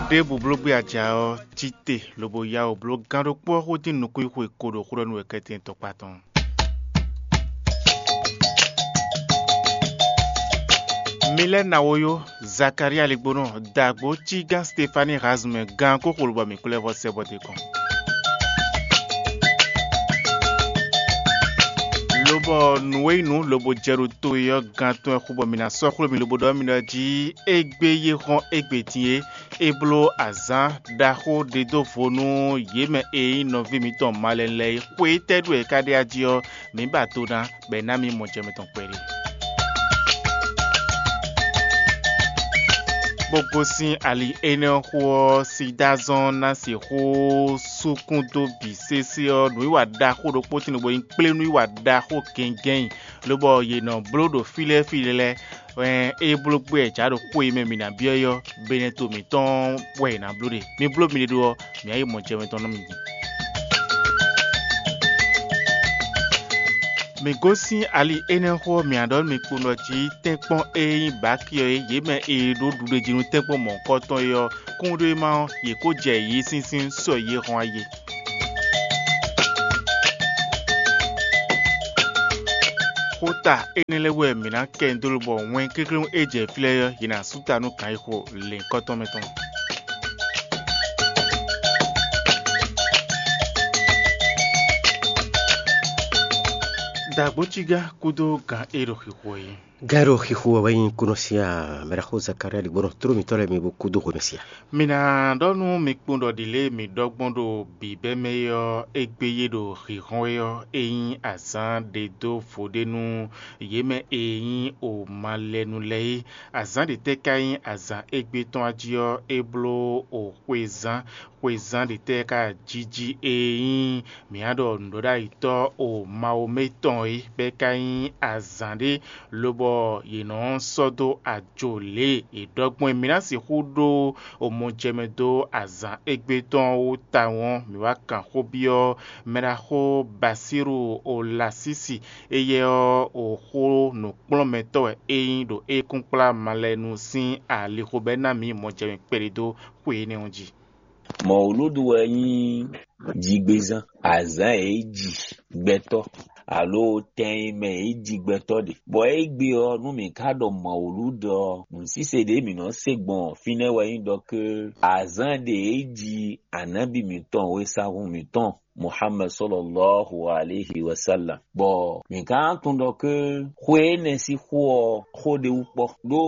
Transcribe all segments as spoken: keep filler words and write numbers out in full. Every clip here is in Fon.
Ɖěbǔ bló gbé aja ɔ́, cí te lobo yá wǔ bló gán ɖokpó ɔ́ xó dín nukúnxwe ko ɖo xó ɖɔ nú wɛ kɛ́tɛn tɔkpá tɔn. Mi lɛ́ ná wo yó, Zakaria Ligbónɔ, dǎgbó cígán Stefani Hazmɛ gán kó xo lobɔ mǐ kplɔ́ ɛ vɔ sɛ bɔ d'é kɔn. Lobɔ nǔ e nyí nǔ lobo jɛ ɖo to e ɔ́ gán tɔn wɛ xo bɔ mǐ ná sɔ́ xwló mì lobo ɖɔ mì ɖɔ jí égbé yé xɔ́n égbé din é, é bló azǎn ɖaxó ɖe dó vo nú yě mɛ e nyí nɔví mǐtɔn malɛnu lɛ́ɛ é. Xwe étɛ́ ɖu wɛ é ka ɖe ají ɔ́, mǐ ba do ná, bɔ è ná mì mɔ jɛ mǐtɔn kpɛɖé. Bó gosín ali énɛ́ ɔ́ xó ɔ́, Sidáa zɔ́n ná sixú súkún dó bǐ sésé ɔ́, nǔwiwa ɖaxó ɖokpó tín lobo nyí kplé nǔwiwa ɖaxó gɛngɛ́n, lobɔ yě nɔ bló ɖo fí lɛ́ɛ fí lɛ́ɛ. Ɛn, é bló gbé ɛ jǎ ɖo xó e mɛ mǐ ná byɔ́ é ɔ́, benɛto mǐtɔn wɛ è nǎ bló ɖe. Mi bló miɖée ɖó ɔ́, mǐ ná yi mɔ jɛ mǐtɔn nú mi din. Mǐ gosín ali énɛ́ xó ɔ́, mǐ ná ɖɔ nú mi kpowun ɖɔ jí tɛ́nkpɔ́n e nyí Baki ɔ́ é, yě mɛ e ɖó ɖuɖéjínú tɛ́nkpɔ́n mɔ̌hunkɔtɔn é ɔ́, kúnɖéma ɔ́, yě kó jɛ yě sínsín sɔ yě hɔn ayé. Xota énɛ́ lɛ́ɛ wɛ mǐ ná kɛ nyi dó lobɔ wɛn kɛ́klɛ́n e jɛ fí lɛ́ɛ ɔ́, yě ná sú ta nú gǎn e xo lěhunkɔtɔn mɛ tɔn. Dǎgbó cígá kúdó gǎn e ɖo xixo é. Gǎn e ɖo xixo wɛ wɛ nyí kúnɔ sín a? Mɛɖaxó Zakaria ɖi gbɔn tló mǐtɔn lɛ́ɛ mi bó kúdó hwenu sín a? Mi ná ɖɔ nú mi kpowun ɖɔ ɖi lě e mǐ ɖɔ gbɔn ɖo bǐbɛ́ mɛ é ɔ́, égbé yé ɖo xixɔ́n é ɔ́, é nyí azǎn ɖe dó vo ɖé nú yě mɛ e nyí o malɛnu lɛ́ɛ é. Azǎn ɖě tɛ́ ka nyí azǎn égbé tɔn a jí ɔ́, é bló o xwezán, xwezán ɖě tɛ́ ka jiji e nyí mǐ á ɖɔ nǔɖoɖáyitɔ́ o Mawu mɛ tɔn é, bɔ é ka nyí azǎn ɖé, lobɔ yě nɔ sɔ́ dó ajo lě e è ɖɔ gbɔn é. Mǐ ná sixú ɖó omɔjɛmɛ dó azǎn égbé tɔn ɔ́ wú tawun ɔ́, mǐ wá kan xó byɔ́ mɛɖaxó Basíru Olasísi, éyɛ́ ɔ́, o xó nǔkplɔ́nmɛtɔ́ wɛ é nyí ɖo ékúnkplá malɛnu sín alixo bɔ é ná mǐ mɔjɛmɛ kpɛɖé dó xwe énɛ́ ɔ́ jí. Mɔwlúdu wɛ nyí jigbezán, azǎn e é ji gbɛtɔ́, alo tɛn e mɛ e é ji gbɛtɔ́ ɖe. Bɔ égbé ɔ́, nú mǐ ka ɖɔ mɔwlúdu ɔ́, nǔsíse ɖě mǐ nɔ se gbɔn fínɛ́ wɛ nyí ɖɔ ké azǎn ɖě e é ji anábì mǐtɔn, wěsagun mǐtɔn, Muhammed sɔlɔlɔhu alehi wasalam. Bɔ mǐ ka tunwun ɖɔ ké xwe énɛ́ sín xó ɔ́, xó ɖé wú kpɔ́, ɖó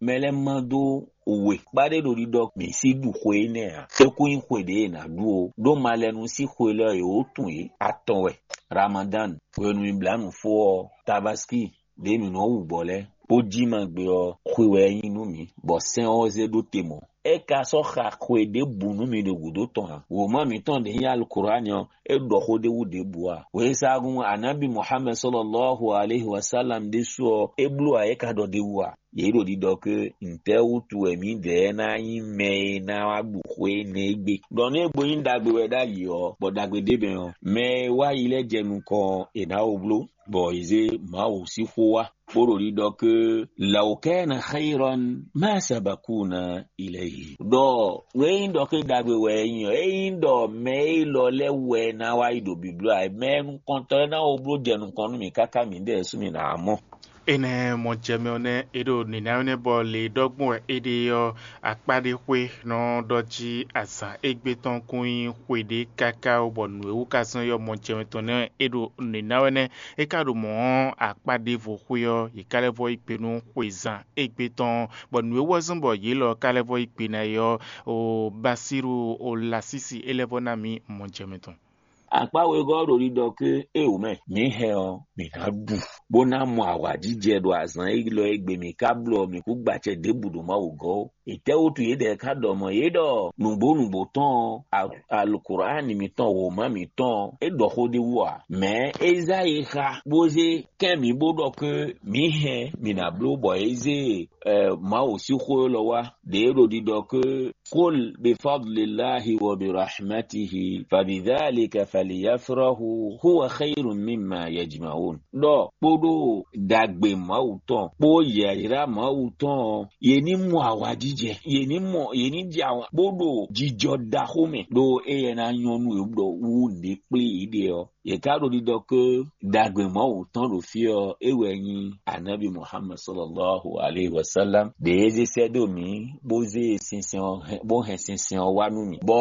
mɛ lɛ́ɛ ma dó we kpá ɖé ɖo ɖiɖɔ mǐ sí ɖu xwe énɛ́ ǎ. É kún nyí xwe ɖě è nǎ ɖu ó, ɖó malɛnu sín xwe lɛ́ɛ è wǒ tunwun yě atɔn wɛ: Ramadan, hwenu e blǎnǔ fó ɔ́, Tabaski, ɖě mǐ nɔ wu gbɔ̌ lɛ́ɛ, bó jí ma gbe ɔ́, xwe wɛ é nyí nú mǐ, bɔ sɛ́n ɔ́ zé ɖó te mɔ̌. É ka sɔ́ xa xwe ɖěbǔ nú mi ɖo gǔdo tɔn ǎ. Wǒma mǐtɔn ɖě nyí Alukurani ɔ́, é ɖɔ xó ɖé wú ɖěbǔ ǎ. Wěsagun Anábì Muhammed sɔlɔlɔhu alehi wasalam ɖésú ɔ́, é bló ǎ, é ka ɖɔ ɖ'é wú ǎ. Yě ɖo ɖiɖɔ ké ntɛ́ wútu wɛ mǐdɛɛ ná nyí mɛ e ná wá ɖu xwe énɛ́ égbé. Ɖɔ nú é gbo nyí ɖagbe wɛ ɖ'ayǐ ɔ́, bɔ ɖagbe ɖ'é mɛ ɔ́, mɛ e wá yi lɛ́ɛ jɛ nukɔn ɔ́, è nǎ wo bló, bɔ è zé Mawu sín xó wá, bó ɖo ɖiɖɔ ké: "Law kana khayran ma sabakuna ilayhi." Ɖɔ nǔ e nyí ɖɔ ké ɖagbe wɛ é nyí ɔ́, é nyí ɖɔ mɛ élɔ́ lɛ́ɛ wɛ ná wá yi ɖo bǐbló ǎ, mɛ nukɔntɔn lɛ́ɛ ná wo bló jɛ nukɔn nú mǐ káká mǐdɛɛ sú mǐ ná wá mɔ. Énɛ́ mɔ jɛ mɛ ɔ́ nɛ́, é ɖo nǐnáwí nɛ́ bɔ le ɖɔgbɔn wɛ é ɖe ɔ́, akpá ɖé xwé nɔ ɖɔ jí azǎn égbé tɔn kún nyí xwe ɖé káká ó, bɔ nǔ e wú ka zɔ́n é ɔ́, mɔ jɛ mɛ tɔn nɛ́ é ɖo nǐnáwí nɛ́. É ka ɖo mɔ̌ ɔ́, akpá ɖěvo xwé ɔ́, yě ka lɛ́ vɔ́ yí gbe nú xwezán égbé tɔn, bɔ nǔ e wú ɔ́ zɔ́n bɔ yě lɔ ka lɛ́ vɔ́ yí gbe ná é ɔ́, o Basíru o Lasísi é lɛ́ vɔ́ ná mǐ mɔ jɛ mɛ tɔn. Akpá wegɔ́ ɖo ɖiɖɔ ké é wǒ mɛ. Mǐ hɛn ɔ́, mǐ ná ɖu, bó ná mɔ awǎjijɛ ɖo azǎn élɔ́ e gbe mǐ ka bló ɔ́, mǐ kú gbacɛ ɖěbǔ ɖo Mawu gɔ́ ó. Etɛ́wútu yědɛɛ ka ɖɔ mɔ̌? Yě ɖɔ nǔgbó nǔgbó tɔn ɔ́, a- Alukurani mǐtɔn, wǒma mǐtɔn ɔ́, é ɖɔ xó ɖé wú ǎ. Mɛ̌ Ezayixá bó zé kɛ́n mǐ bó ɖɔ ké mǐ hɛn mǐ ná bló bɔ é zé ɛ, Mawu sín xó élɔ́ wá. Ɖě ɖo ɖiɖɔ ké: "Qul bi fadlillahi wa bi rahmatihi fa bi dhalika falyafrahu huwa khayrun mimma yajma'un." Ɖɔ kpódó ɖagbe Mawu tɔn kpó yɛ̌yrá Mawu tɔn ɔ́, yě ní mɔ awǎjijɛ jɛ yě ní mɔ yě ní jɛ awǎn bó ɖo jijɔ ɖaxó mɛ ɖó éyɛ́ ná nyɔ́ nú yě ɖɔ wú nǔɖé kplé yě ɖe ɔ́, yě ká ɖo ɖiɖɔ ké ɖagbe Mawu tɔn ɖo fí ɔ́, é wɛ nyí Anábi Muhammad sallallahu alaihi wasallam ɖě é zé sɛ́ dó mǐ bó zé sinsɛn ɔ́ hɛn bó hɛn sinsɛn ɔ́ wá nú mǐ. Bɔ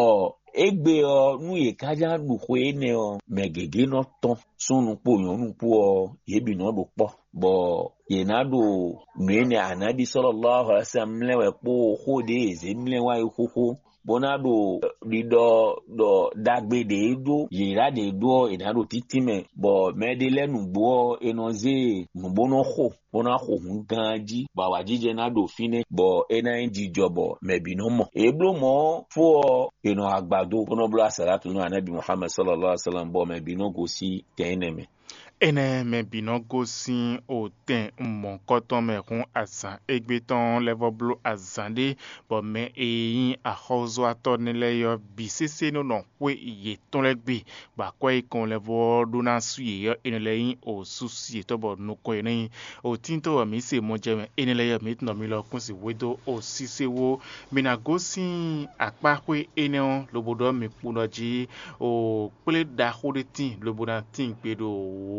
égbé ɔ́, nú yě ká já ɖu xwe énɛ́ ɔ́, mɛ gěgé nɔ tɔ́n, súnnu kpó nyɔ̌nu kpó ɔ́, yě bǐ nɔ ɖo kpɔ́, bɔ yě ná ɖo nǔ énɛ́ Anábi sallallahu alaihi wasallam mlɛ́ wɛ kpó xó ɖě yě zé mlɛ́ wá é xóxó, bó ná ɖo ɖiɖɔ ɖɔ ɖagbe ɖě ɖó yěɖá ɖě ɖó ɔ́, è nǎ ɖo títí mɛ, bɔ mɛ ɖé lɛ́ɛ nǔgbó ɔ́, è nɔ zé nǔ bó nɔ xo, bó ná xo hǔn gán jí, bɔ awǎjijɛ ná ɖo fínɛ́, bɔ é ná nyí jijɔ bɔ mɛ bǐ nɔ mɔ. È bló mɔ̌ fó ɔ́, è nɔ agbado bó nɔ bló asǎlátǔ nú Anábì Muhammad sallallahu alaihi wasallam, bɔ mɛ bǐ nɔ gosín tɛn énɛ́ mɛ. Énɛ́ mɛ bǐ nɔ gosín otɛn mɔ̌hunkɔtɔn mɛ hún azǎn égbé tɔn lɛ́ vɔ bló azǎn ɖé, bɔ mɛ e nyí axɔ́zɔ́watɔ́ nɛ́ lɛ́ɛ ɔ́ bǐ sésé nɔ nɔ xwé yětɔn lɛ́ɛ gbe, bɔ akwɛ́ e kɔn lɛ́ vɔ ɖó ná sú yě ɔ́, énɛ́ lɛ́ɛ nyí osúsi yětɔn bɔ nukɔn yě nɔ nyi. Otíntɔ́ wɛ mǐ se mɔ jɛ mɛ, énɛ́ lɛ́ɛ ɔ́, mǐ tunɔ mi lɔ kún si hwedó osíséwó. Mi ná gosín akpáxwé énɛ́ ɔ́, lobo ɖɔ mi kpo ɖɔ jí o kplé ɖaxó ɖé tíin, lobo ná tíin gbe ɖo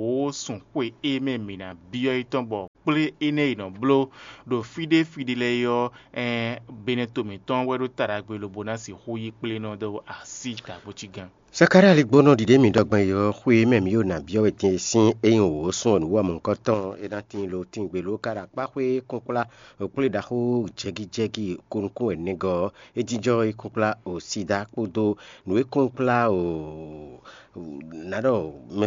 wǒ sun xwe e mɛ mǐ ná byɔ́ é tɔn, bɔ kplé énɛ́ e nɔ bló ɖo fí ɖé fí ɖé lɛ́ɛ é ɔ́, ɛn Benɛto mǐtɔn wɛ ɖó ta ɖagbe lobo ná sixú yí kplé nɔ dó así ɖaxó cí gán. Zakalía ligbónɔ ɖiɖe mǐ ɖɔ gbɔn é ɔ́, xwe e mɛ mǐ ɖo nǎ byɔ́ wɛ din é sín é nyí wǒ sun ɔ́ nǔ wɔ mɔ̌hunkɔtɔn é ná tíin lo tíin gbe lǒ ká ɖo akpáxwé kɔ́nkplá kplé ɖaxó jɛgíjɛgí ko nukún wɛ nɛgɔ́ ɔ́, é jínjɔ́n é kɔ́nkplá o sida kpódó nǔ e kɔ́nkplá o ná ɖɔ mɛ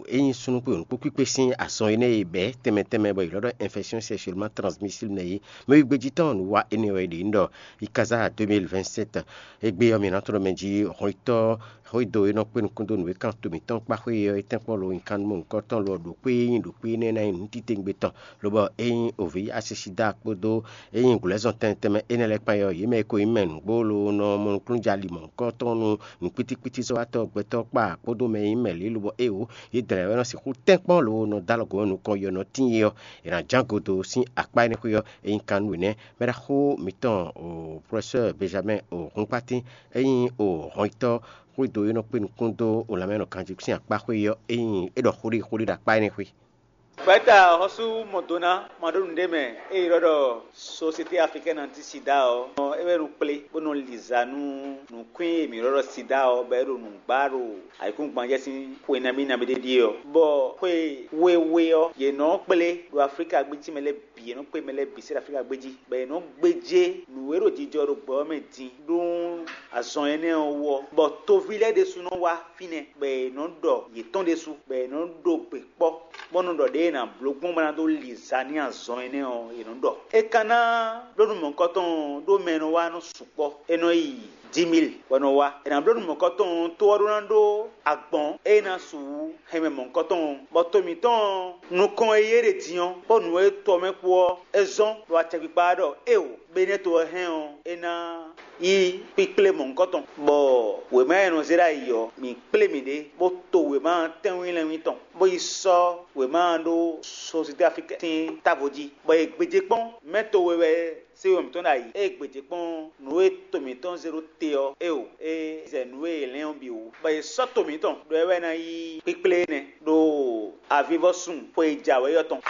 é nyí súnnu kpé nǔkpó kpíkpé sín azɔn énɛ́ e bɛ̌ tɛnmɛ tɛnmɛ bɔ è lɔ́ ɖɔ infection sexuellement transmissible nɛ́ é. Mɛ e gbejí tɔn nǔ wa énɛ́ wɛ è ɖe nyí ɖɔ Ikaza deux mille vingt-sept. Égbé ɔ́, mǐ ná tlɔ́ mɛ jí hɔnnyitɔ́ xwédo e nɔ kpé nukún dó nǔ e kan to mǐtɔn kpá xwé ɔ́, é tɛ́nkpɔ́n lo nyikan nú mɔ̌hunkɔtɔn lo ɔ́ ɖo xwé e nyí ɖo xwé énɛ́ ná nyí nǔtitewungbe tɔn, lobɔ é nyí ovǐ asisida kpódó é nyí glwɛ̌zɔn tɛnmɛ tɛnmɛ énɛ́ lɛ́ɛ kpán é ɔ́, yě mɛ e ko nyí mɛ nǔgbó lo nɔ mɔ nukúnnú jalí mɔ̌hunkɔtɔn nú nǔkpítíkpítízɔ́watɔ́ gbɛtɔ́ kpá kpódó mɛ e nyí mɛ lě lobɔ éeǒ, yě dlɛ̌n wɛ nɔ sixú tɛ́nkpɔ́n lo nɔ dó alɔ gǒ nú nukɔn yɔ nɔ tíin é ɔ́, è nǎ ján go dó sín akpá énɛ́ xwé ɔ́, é nyí kan nú yě nɛ́. Mɛɖaxó mǐtɔn o professeur Benjamin o Hunkpatín, é nyí o hɔnyitɔ́ xwédo e nɔ kpé nukún dó o lanmɛ nɔ ganjí sín akpá xwé ɔ́, é nyí é ɖɔ xó ɖé xó ɖé ɖo akpá énɛ́ xwé. Fɛ́ta xɔ́sú Mɔdona ma ɖó nǔɖé mɛ e ylɔ́ ɖɔ Société Africaine Anti Sida ɔ́, é wɛ ɖo kplé bó nɔ li za nú nǔkwín e mǐ ylɔ́ ɖɔ sida ɔ́, bɔ é ɖo nǔgbá ɖo ayǐkúngban jɛ sín xwe nabí nabí ɖé ɖíe ɔ́. Bɔ xwe wéwé ɔ́, yě nɔ kplé ɖo Aflíka gbéjí mɛ lɛ́ɛ bǐ, yě nɔ kplé mɛ lɛ́ɛ bǐ sɛ́ ɖo Aflíka gbéjí, bɔ yě nɔ gbéjé nǔ e ɖo jijɔ ɖo gbɛ ɔ́ mɛ din ɖó azɔn énɛ́ ɔ́ wú ɔ́, bɔ toví lɛ́ɛ ɖésú nɔ wá fínɛ́, bɔ è nɔ ɖɔ yětɔn ɖésú, bɔ è nɔ ɖo gbe kpɔ́, bó nɔ ɖɔ ɖě è nǎ bló gbɔn bó ná dó li za n'i azɔn énɛ́ ɔ́, è nɔ ɖɔ. É ka ná bló nú mɔ̌hunkɔtɔn ɔ́, ɖó mɛ e nɔ wá nɔ sukpɔ́, é nɔ yi dix mille wɛ nɔ wá. È nǎ bló nú mɔ̌hunkɔtɔn ɔ́, tó ɔ́ ɖó ná ɖó agbɔ̌n e ná su hɛn mɛ mɔ̌hunkɔtɔn ɔ́, bɔ to mǐtɔn ɔ́, nukɔn e yí é ɖe din ɔ́, kpó nǔ e to ɔ́ mɛ kpó ɔ́, é zɔ́n ɖo acɛkpikpa ɔ́ ɖɔ éeǒ. Bɔ énɛ́ to ɔ́ hɛn ɔ́, é ná yí kpíkplé mɔ̌hunkɔtɔn, bɔ wěma e nɔ zé ɖ'ayǐ ɔ́, mǐ kplé mǐɖée, bó to wěma tɛ́nwínlɛ́nwín tɔn, bó yi sɔ́ wěma ɔ́ ɖó Société Africaine sín távo jí, bɔ è gbějé kpɔ́n mɛ to we wɛ sé we mǐtɔn ɖ'ayǐ. Ée gbějé kpɔ́n nǔ e to mǐtɔn zé ɖó te ɔ́, éeǒ, é zɛ nǔ e è lɛ́n ɔ́ bǐ wú, bɔ è sɔ́ to mǐtɔn ɖɔ é wɛ ná yí kpíkplé énɛ́ ɖo avivɔsun xwe e jǎwe ɔ́ tɔn.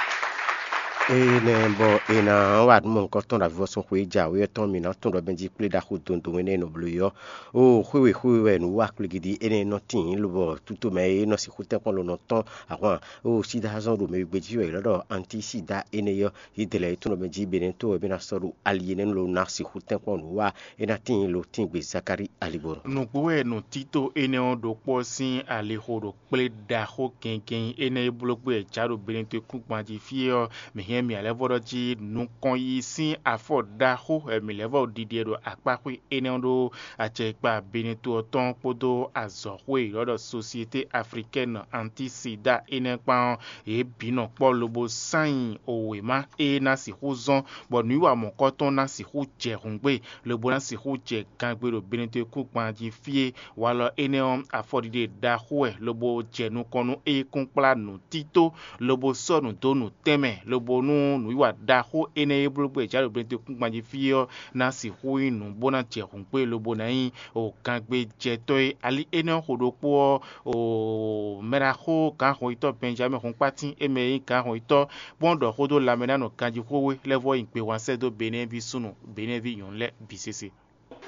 Énɛ́ bɔ è nǎ wa nǔ mɔ̌hunkɔtɔn ɖo avivɔsun xwe e jǎwe ɔ́ tɔn, mǐ ná tunwun ɖɔ mɛ jí kplé ɖaxó dondon énɛ́ e nɔ bló é ɔ́. Oo, xwéwe xwéwe wɛ nǔ wa kplígídí énɛ́ e nɔ tíin, lobɔ tútomɛ e nɔ sixú tɛ́nkpɔ́n lo nɔ tɔ́n ahwan. Oo, sídázɔn ɖo mɛ gbéjí wɛ è lɔ́ ɖɔ antísida énɛ́ ɔ́, yě dlɛ̌ é tunwun ɖɔ mɛ jí Benɛ́to wɛ mɛ ná sɔ́ ɖo ali énɛ́ lɔ ná sixú tɛ́nkpɔ́n nǔ wa. É ná tíin lo tíngbě Zakalí aligbɔnɔ. Nǔgbó wɛ nǔtító énɛ́ ɔ́ ɖo kpɔ́ sín alixo ɖo kplé ɖaxó gɛngɛn énɛ́ e bló gbé wɛ jǎ ɖo Benɛ́to kúngban jí fí é ɔ́, mǐ hɛn mì alɛ́vɔ́ɖɔ jí nukɔn yí sín afɔ ɖaxó wɛ mǐ lɛ́ vɔ ɖiɖi ɛ ɖo akpáxwé énɛ́ ɔ́ ɖó acɛkpa Benɛ́to ɔ́ tɔn kpódó azɔ̌xwé e ylɔ́ ɖɔ Société Africaine Anti-Sida énɛ́ kpán ɔ́, yě bǐ nɔ kpɔ́ lobo sán nyi wěma e ná sixú zɔ́n bɔ nǔwiwa mɔ̌kɔtɔn ná sixú jɛ hǔngbé, lobo ná sixú jɛ gangbe ɖo Benɛ́to kúngban jí fí é. Walɔ énɛ́ ɔ́, afɔɖiɖe ɖaxó wɛ, lobo jɛ nukɔn nú éyíkúngblá nǔtító, lobo sɔ́ nǔ dó nǔtɛn mɛ, lobo nú nǔwiwa ɖaxó énɛ́ e bló gbé Jǎɖoblɛ́ntekúngban jí fí ɔ́ ná sixú nyí nǔ bó ná jɛ hǔn kpé lobo ná nyí o gangbejɛtɔ́ e ali énɛ́ xo ɖokpó ɔ́ o mɛɖaxó gǎnhɔnyitɔ́ Bɛnjamín Hɔnkpátín e mɛ e nyí gǎnhɔnyitɔ́ bó nɔ́ ɖɔ xó dó lanmɛ ná nɔ ganjí xwéxwé lɛ́ɛ vɔ́ nyi gbehwan sɛ́ dó Benɛ́ɛví súnnu Benɛ́ɛví nyɔ̌nu lɛ́ɛ bǐ sésé.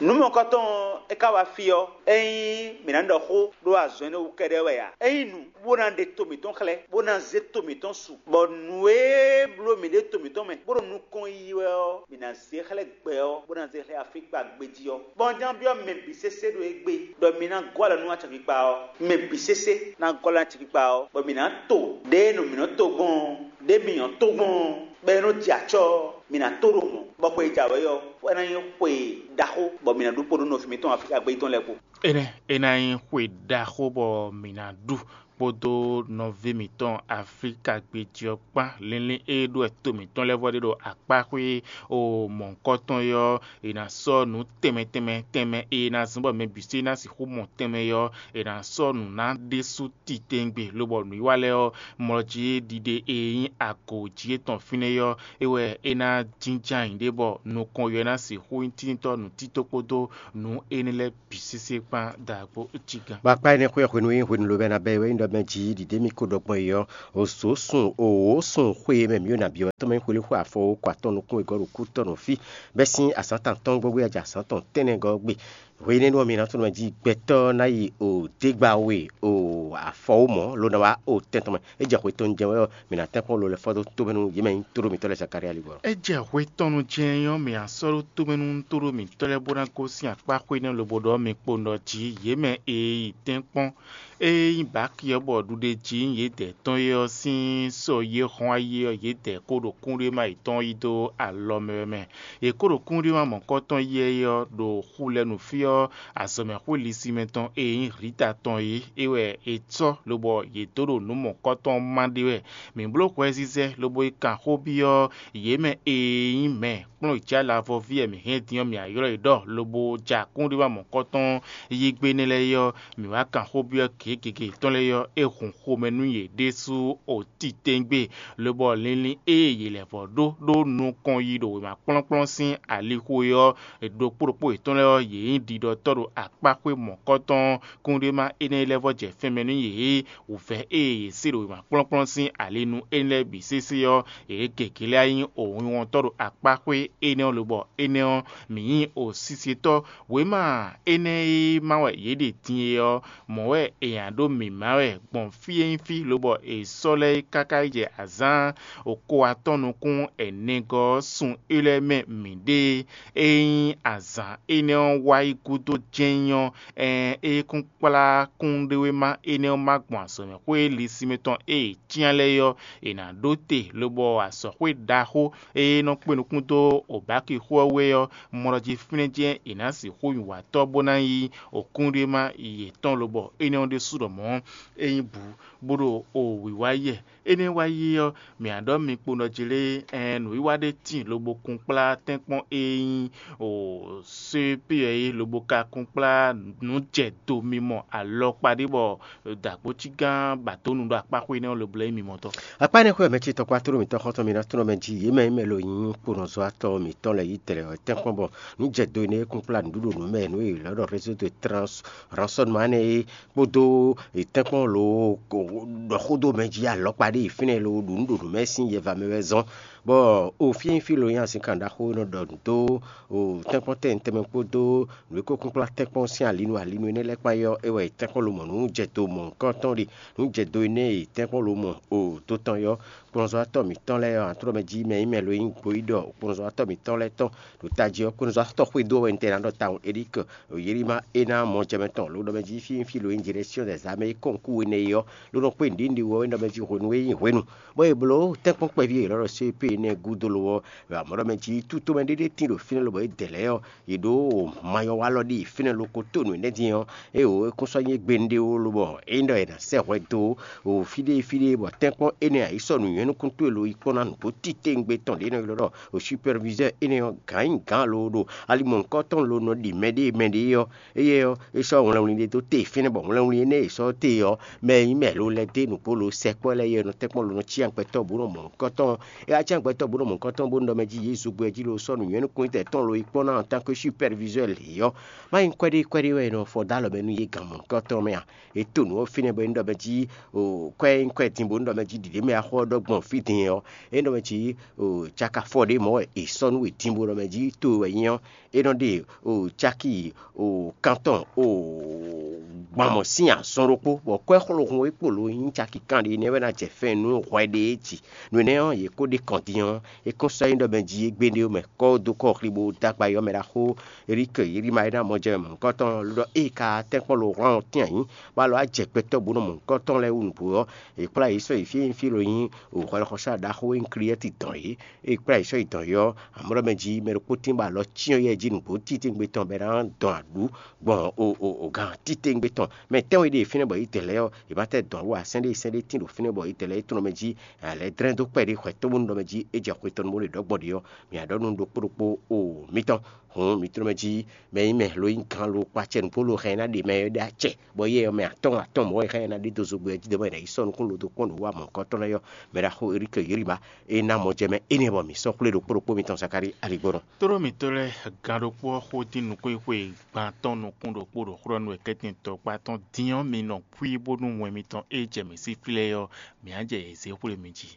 Nǔ mɔ̌kɔtɔn ɔ́, é ka wá fí ɔ́, ényí mǐ ná ɖɔ xó ɖó azɔn énɛ́ wú kɛ́ɖɛ́ wɛ ǎ. Ényí nǔ bó ná ɖe to mǐtɔn xlɛ́, bó ná zé to mǐtɔn su, bɔ nǔ e bló mǐ ɖe to mǐtɔn mɛ, bó ɖo nukɔn yiyi wɛ ɔ́, mǐ ná zé xlɛ́ gbɛ ɔ́, bó ná zé xlɛ́ afíkpa gbejí ɔ́. Bɔ un ján byɔ́ mɛ bǐ sésé ɖo égbé, ɖɔ mi ná gɔ́ alɔ nú acɔkpikpa ɔ́. Mɛ bǐ sésé ná gɔ́ alɔ nú acɔkpikpa ɔ́, bɔ mǐ ná to ɖěe nɔ mǐ nɔ to gbɔn ɔ́, ɖěe mǐ nyɔ́ to gbɔn ɔ́, bɔ é nɔ jɛ acɔ́ ɔ́, mi ná to ɖo mɔ̌, bɔ xwe e jǎwe ɔ́, é ná nyí xwe ɖaxó, bɔ mi ná ɖu kpo nú nɔví mitɔn Aflíka gbé tɔn lɛ́ɛ kpó. Énɛ́ é ná nyí xwe ɖaxó bɔ mǐ ná ɖu kpódó nɔví mǐtɔn Aflíka gbé jí ɔ́ kpán. Linlin e ɖó wɛ to mǐtɔn lɛ́ɛ vɔ ɖe ɖo akpá xwé o mɔ̌hunkɔtɔn é ɔ́, è nǎ sɔ́ nǔ tɛnmɛ tɛnmɛ tɛnmɛ e ná zɔ́n bɔ mɛ bǐ sí ná sixú mɔ tɛnmɛ é ɔ́, è nǎ sɔ́ nǔ ná ɖésú titewungbe, lobɔ nǔwiwa lɛ́ɛ ɔ́, mlɔ jí ɖiɖe e nyí agǒ jí étɔn fínɛ́ ɔ́, é wɛ é ná jínjɔ́n ayǐ ɖé bɔ nukɔn yɔ ná sixú nyí tíntɔ́ nǔtítɔ́ kpódó nǔ énɛ́ lɛ́ɛ bǐ sésé kpán dǎgbó cí gán. Bɔ akpá énɛ́ xwé ɔ́ hwenu e hwenu lobɛ ná bɛ́ é wɛ nyí ɖɔ mɛ jí ɖiɖe mì ko ɖɔ gbɔn é ɔ́, o zǒ sun o wǒ sun xwé e mɛ mǐ ɖo nǎ byɔ́ wɛ tɔn mɛ nyí xwelíxwé afɔ wǒ kɔ atɔn nukún wegɔ́ ɖo kú tɔn nɔ fí, bɛ́ sín azǎn tantɔ́n gbɔ́gbí wɛ jɛ azǎn tɔn tɛ́nnɛ gɔ́ gbe. Hwenɛ́nu ɔ́, mi ná tunwun mɛ jí gbɛtɔ́ ná yi o dégbawe o afɔwúmɔ̌, ló ná wá o tɛn tɔn mɛ. É jɛ hwe tɔn jɛ́n wɛ ɔ́, mi ná tɛ́nkpɔ́n lo lɛ́ɛ fɔ́ dó tómɛ nú yě mɛ nyí tóɖó mitɔ́ lɛ́ɛ Zakalía ligbɔ. É jɛ hwe tɔn nu jɛ́n ɔ́, mǐ ná sɔ́ ɖó tómɛ nú tóɖó mǐtɔn lɛ́ɛ bó ná gosín akpá xwé nɛ́ lobo ɖɔ mi kpo nɔ jí yě mɛ e yi tɛ́nkpɔ́n. Ée nyí Baki ɔ́ bɔ ɖuɖéjí yědɛɛ tɔn é ɔ́ sín sɔ yě hɔn ayé ɔ́, yědɛɛ kó ɖo kúnɖéma yětɔn yí dó alɔ mɛ wɛ mɛ. Yě kó ɖo kúnɖéma mɔ̌kɔtɔn yí ɛ ɔ́ ɖo xu lɛ́ɛ nu fí ɔ́, azɔ̌mɛxwé lisimɛ tɔn e nyí Hlita tɔn é, é wɛ è sɔ́ lobɔ yě dó ɖo nǔ mɔ̌kɔtɔn má ɖe wɛ. Mǐ bló hwɛzizɛ lobo yi kan xó byɔ́ yě mɛ e nyí mɛ kplɔ́n jǎ lavɔví wɛ mǐ hɛn din ɔ́, mǐ ná ylɔ́ yě ɖɔ lobo ja kúnɖéma mɔ̌kɔtɔn yí gbe énɛ́ lɛ́ɛ é ɔ́, mǐ wá kan xó byɔ́ gěgěgě tɔn lɛ́ɛ ɔ́, é hun xomɛ nú yě ɖésú o titewungbe, lobɔ linlin e yě lɛ́ vɔ ɖó ɖó nukɔn yi ɖo wěma kplɔ́nkplɔ́n sín alixo é ɔ́, ɖokpó ɖokpó yětɔn lɛ́ɛ ɔ́, yě nyí ɖiɖɔtɔ́ ɖo akpáxwé mɔ̌kɔtɔn kúnɖéma énɛ́ lɛ́ɛ vɔ jɛ fɛnmɛ nú yě. Wǔvɛ́ e yě se ɖo wěma kplɔ́nkplɔ́n sín ali nú énɛ́ lɛ́ɛ bǐ sésé ɔ́, yě gěgé lɛ́ɛ nyí wǐnwɔ́ntɔ́ ɖo akpáxwé énɛ́ ɔ́ lobɔ énɛ́ ɔ́, mǐ nyí sisetɔ́. Wěma énɛ́ e má wɛ yě ɖe din é ɔ́, mɔ̌ wɛ è nǎ ɖó mǐmá wɛ gbɔn fí e nyí fí lobɔ è sɔ́ lɛ́ɛ é káká yi jɛ azǎn ko atɔ́ nukún ɛnɛgɔ́ ɔ́ sun é lɛ́ɛ mɛ mǐ ɖe. É nyí azǎn énɛ́ ɔ́ wá yi gúdo jɛ́n nyí ɔ́, ɛɛn é kún kplá kúnɖéwéma énɛ́ ɔ́ má gbɔn azɔ̌mɛxwé lisinmɛ tɔn e è cyán lɛ́ɛ é ɔ́, è nǎ ɖó te, lobɔ azɔ̌xwé ɖaxó e nɔ kpé nukún dó Obaki xó ɔ́ wú é ɔ́, mɔ ɖɔ jí fínɛ́ jɛ́n è nǎ sixú nyi wǎtɔ́ bó ná nyí okúnɖéma yětɔn, lobɔ énɛ́ ɔ́ ɖésú ɖɔ mɔ̌ é nyí bǔ, bó ɖo o wǐwá yɛ. Énɛ́ wá yi ɔ́, mǐ ná ɖɔ mi kpo nɔ jí lé, ɛɛn nǔwiwa ɖé tíin lobo kun kplá tɛ́nkpɔ́n e nyí o C P ɔ́ é, lobo ka kun kplá nǔ jɛ do mimɔ alɔkpa ɖé bɔ dǎgbócí gán ba dó nu ɖo akpáxwé énɛ́ ɔ́ lobo lɛ́ nyí mimɔtɔ́. Akpá énɛ́ xwé ɔ́, mɛ ce tɔkpá tló mǐtɔn xɔ́ntɔn mǐ ná tló mɛ jí yě mɛ e mɛ lo nyí kponɔzɔ́watɔ́ mǐtɔn lɛ́ɛ yí tɛlɛ wɛ tɛ́nkpɔ́n bɔ nǔ jɛ do énɛ́ e kún kplá nǔɖuɖu nǔ mɛ nǔ e è lɛ̌ ɖɔ réseau de trans rançonnement énɛ́ é kpódó tɛ́nkpɔ́n lo ɖɔ xó dó mɛ jí alɔkpa ɖé yi fínɛ́ lo ɖu nǔ ɖo nǔ mɛ sín yɛva mɛ wɛ zɔ́n. Bɔ o fí e nyí fí lo nyí azinkan ɖaxó e nɔ ɖɔ nǔ dó o tɛ́nkpɔ́n tɛn tɛnmɛ kpódó nǔ e ko kún kplá tɛ́nkpɔ́n sín alinu alinu énɛ́ lɛ́ɛ kpán é ɔ́, é wɛ tɛ́nkpɔ́n lo mɔ nǔ jɛ do mɔ̌hunkɔtɔn ɖe. Nǔ jɛ do énɛ́ e tɛ́nkpɔ́n lo mɔ o do tɔn é ɔ́, kplɔ́nzɔ́watɔ́ mǐtɔn lɛ́ɛ ɔ́, antrɔ́mɛ jí mɛ nyí mɛ lo nyí gbeyíɖɔ kplɔ́nzɔ́watɔ́ mǐtɔn lɛ́ɛ tɔn ɖo tají ɔ́, kplɔ́nzɔ́watɔ́ xwedó ɔ́ wɛ un tɛn ná ɖɔ tawun Elík Yelima é ná mɔ jɛ mɛ tɔn, lo ɖɔ mɛ jí fí fí lo nyí Direction des armées kɔ́nkú énɛ́ é ɔ́, lo nɔ kpé nǔɖiɖi wɛ é nɔ mɛ jí hwenu e nyí hwenu. Bɔ è blǒ tɛ́nkpɔ́n kpɛví e è nɔ ɖɔ C P énɛ́ gúdo lo ɔ́, amɔ̌ ɖɔ mɛ jí tútomɛ ɖé ɖé tín ɖo fínɛ́ lobɔ é dɛ lɛ́ɛ ɔ́, yě ɖó mayɔwalɔ ɖi fínɛ́ lo ko tó nǔ énɛ́ din ɔ́, é wǒ é kún sɔ́ nyí gbe un ɖe ó, lobɔ é nyí ɖɔ è nǎ sɛ́ hwɛ dó o fí ɖé fí ɖé bɔ tɛ́nkpɔ́n énɛ́ ǎ yi sɔ́ nǔ nyɔ̌nukún towe lo yi kpɔ́n ná nǔgbó titewungbe tɔn ɖě nɔ ylɔ́ ɖɔ superviseur énɛ́ ɔ́, gǎn nyi gǎn lo ɖo ali mɔ̌hunkɔtɔn lo nɔ ɖi mɛɖée mɛɖée ɔ́, éyɛ́ ɔ́, é sɔ́ wlɛnwlin ɖé dó te fínɛ́, bɔ wlɛnwlin énɛ́ e è sɔ́ te ɔ́, mɛ e nyí mɛ lo lɛ́ dó nǔgbó lo sɛkpɔ́ lɛ́ɛ é nɔ tɛ́nkpɔ́n lo nɔ cí agbɛtɔ́ bó nɔ mɔ nǔkɔtɔn. É wá cí agbɛtɔ́ bó nɔ mɔ nǔkɔtɔn bó nɔ ɖɔ mɛ jí yě zogbo ɛ jí lo sɔ́ nǔ nyɔ́ nukún tɛn tɔn lo yi kpɔ́n ná en tant que superviseur lě ɔ́, má nyí kwɛ́ɖé kwɛ́ɖé wɛ è nɔ fɔ dó alɔ mɛ nú yě gǎn mɔ nǔkɔtɔn mɛ a? È to nǔ ɔ́ fínɛ́ bɔ é nɔ ɖɔ mɛ jí o kwɛ́ nyí kwɛ́ din bó nɔ ɖɔ mɛ jí ɖiɖě mɛ axɔ ɔ́ ɖɔ gbɔn fí din ɔ́, é nɔ mɛ jí o caka fɔ ɖé mɔ̌ wɛ è sɔ́ nú we din bó nɔ mɛ jí to wɛ nyí ɔ́, é nɔ ɖe o caki o kantɔn o gbɔn mɔ̌ sín azɔn ɖokpó, bɔ kwɛ́ xlóhun e kpo lo nyí caki kanɖé nɛ́ wɛ ná jɛ fɛ́n nú hwɛ ɖé e ji. Nǔ énɛ́ ɔ́, yě kó ɖe kɔn din ɔ́, é kún sɔ́ nyí ɖɔ mɛ jí égbé ɖé mɛ kɔ́ dó kɔ xli bó dó agba yi ɔ́ mɛ ɖaxó Erike Yirima e ná mɔ jɛ mɔ̌hunkɔtɔn lɔ ɖɔ ée ka tɛ́nkpɔ́n lo hwlán ɔ́ tɛ́n ayǐ, bó alɔ wá jɛ gbɛtɔ́ bó nɔ mɔ̌hunkɔtɔn lɛ́ɛ wú nǔgbó ɔ́, è kplá yě sɔ́ yi fí e nyí fí lo nyí o hwɛlɛxɔsá ɖaxó e nyí Kliyɛ́ti dɔn yě. È kplá yě sɔ́ yi dɔn yě ɔ́, amɔ̌ ɖɔ mɛ jí mɛ ɖokpó tín bɔ alɔ cyɔ́n yɛ jí nǔgbó titewungbe tɔn bɔ é ná dɔn aɖǔ gbɔn o o o gan titewungbe tɔn. Mɛ tɛ́nwe ɖe fínɛ́ bɔ yě dɛ lɛ́ɛ ɔ́, yě ma tɛ́ dɔn wú ǎ, sɛ́n ɖé sɛ́n ɖé tín ɖo fínɛ́ bɔ yě dɛ lɛ́ɛ é tlɔ́n mɛ jí lɛ̌ dlɛ́n dó kpɛɖé xwɛ tóbúnu ɖɔ mɛ jí é jɛ xwe tɔn bó ɖe ɖɔ̌gbɔ́ ɖe ɔ́, mǐ a ɖɔ nú ɖokpó ɖokpó o mǐtɔn. Hǔn mǐ tlɔ́n mɛ jí mɛ nyí mɛ lo nyí gǎn lo kpa acɛ nǔgbó lo hɛn ná ɖe mɛ ɖé acɛ, bɔ yɛ ɔ́ mɛ atɔ́ɔ́n atɔ́ɔ́n mɔ̌ wɛ hɛn ná ɖe dó zogbɛ jí ɖɔ mɛ ɖě yi sɔ́ nukún lo dó kpɔ́n nǔ wa mɔ̌hunkɔtɔn lɛ́ɛ ɔ́, mɛ ɖaxó Erike Yiriba é ná mɔ jɛ mɛ énɛ́ bɔ mǐ sɔ́ xwlé ɖokpó ɖokpó mitɔn Zakalíi aligbɔnɔ. Tlóló mǐtɔn lɛ́ɛ, gǎn ɖokpó ɔ́ xo dín nukúnxwé gban tɔn nukún ɖokpó ɖo xlɔ́ nú wɛ kɛ́tɛn tɔkpá tɔn dín ɔ́, mi nɔ kwí bónú wɛn mitɔn e jɛ mǐ sí xwlé ɔ́, mǐ á jɛ yě zé xwlé mi jí.